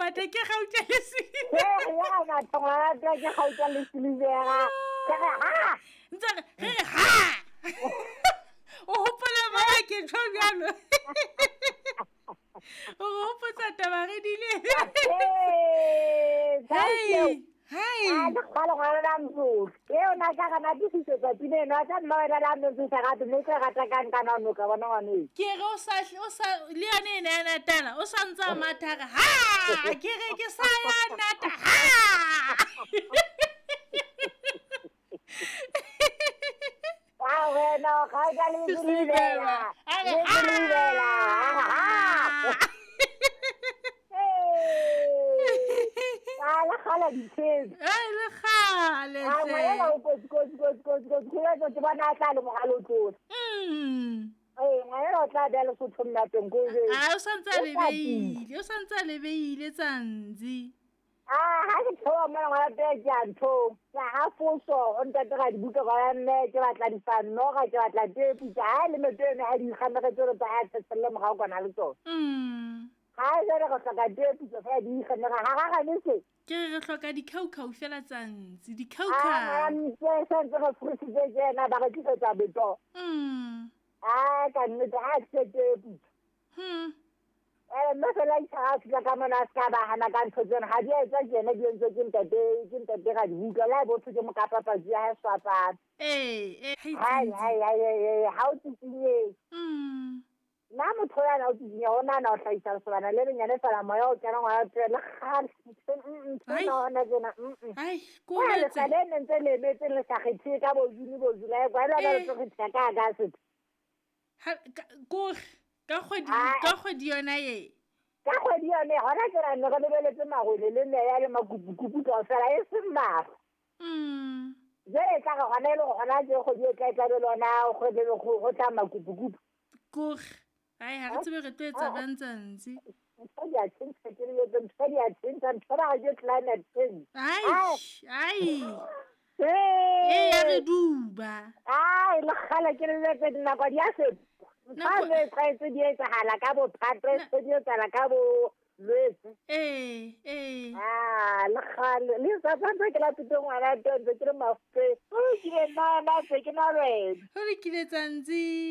matha ke gauta le silivera matha ngwana ke gauta le silivera ke re ha ntse re re ha o hopola ba ke tjho bjalo o re hopotsa taba re dile hey Hai. A le kgale ngwana la mzulu. E o na ka gana tisisetsa pina eno a tla nna wena la ntse sa rate mme ke rata ka nka na noka bona ngwane e. Ke re o sa o sa le yone ene ya natala o sa ntse a matha re ha ke re ke sa ya nata ha. A wena o ga le silivera. Le silivera. A le kgale ditshedi. A le kgale. A ngwana o kotsi kotsi kotsi kotsi kotsi ke batla ke bona a tla le mogalo tlola. Ee, ngwana o tla bea Lesotho mmapeng ko A o santse a lebeile, o santse a lebeile tsantsi. A ha ke theoha mona ngwana teng ke a nthong. Ke a hafoso o ntate ga dibuka ga ya mme ke batla difanoga ke batla tepu ke ha le meto eno ha di ikgamegetse gore tsa a tshetselle morago kwana le tsone. Ga jale go hloka tepu tse fela di ikgamega ga gagane se. Ke re re hloka dikhaukhau fela tsantsi, dikhaukhau. A ntse santse re furusitse tjena ba re tlisetsa beto. A ka nnete ha tlise tepu. Mme fela a a fihla ka mona a se ka ba hana ka ntho tsena ha di a etswa ke yena di entswe ke ntate ke ntate ga dibuka le ha e botho ke mokapapatsi ya hae swapana. Ee, hai hai hai hai ha o tsitsinyeng. Nna motho yana o tsitsinya o nahana o hlahisa lesobana le lenyane fela moya o kena ngwana tse le kgale ntho ena hona tjena. Ai, ko le sa le ne ntse le emetse le sa kgethe ka bo June bo July kwa le ba tlo kgetha ka August. Ha ko ka kgwedi ka kgwedi yona ye ka kgwedi yone gona ke ra ne re lebeletse magwele le meya le makupukupu kaofela e seng mafa. Jale e tla re gona e le gore gona ke kgwedi e tla e tlabe le ona go tla makupukupu kore ai ga re tsebe re tlo etsa bjang tsantsi ntho di a tšhentšha ke le ntho di a tšhentšha ntho ba ke climate change. Ai ai e ya re duba ai le kgale ke le tse dinako di a fetoha ntho le tlwaetse di etsahala ka bo Phatwe se di etsahala ka bo Lwetse. Ee a le kgale le sa tshwanetse ke lapite ngwana teng ntse ke le mafe o kile nna nna se ke na lwena go lokile tsantsi.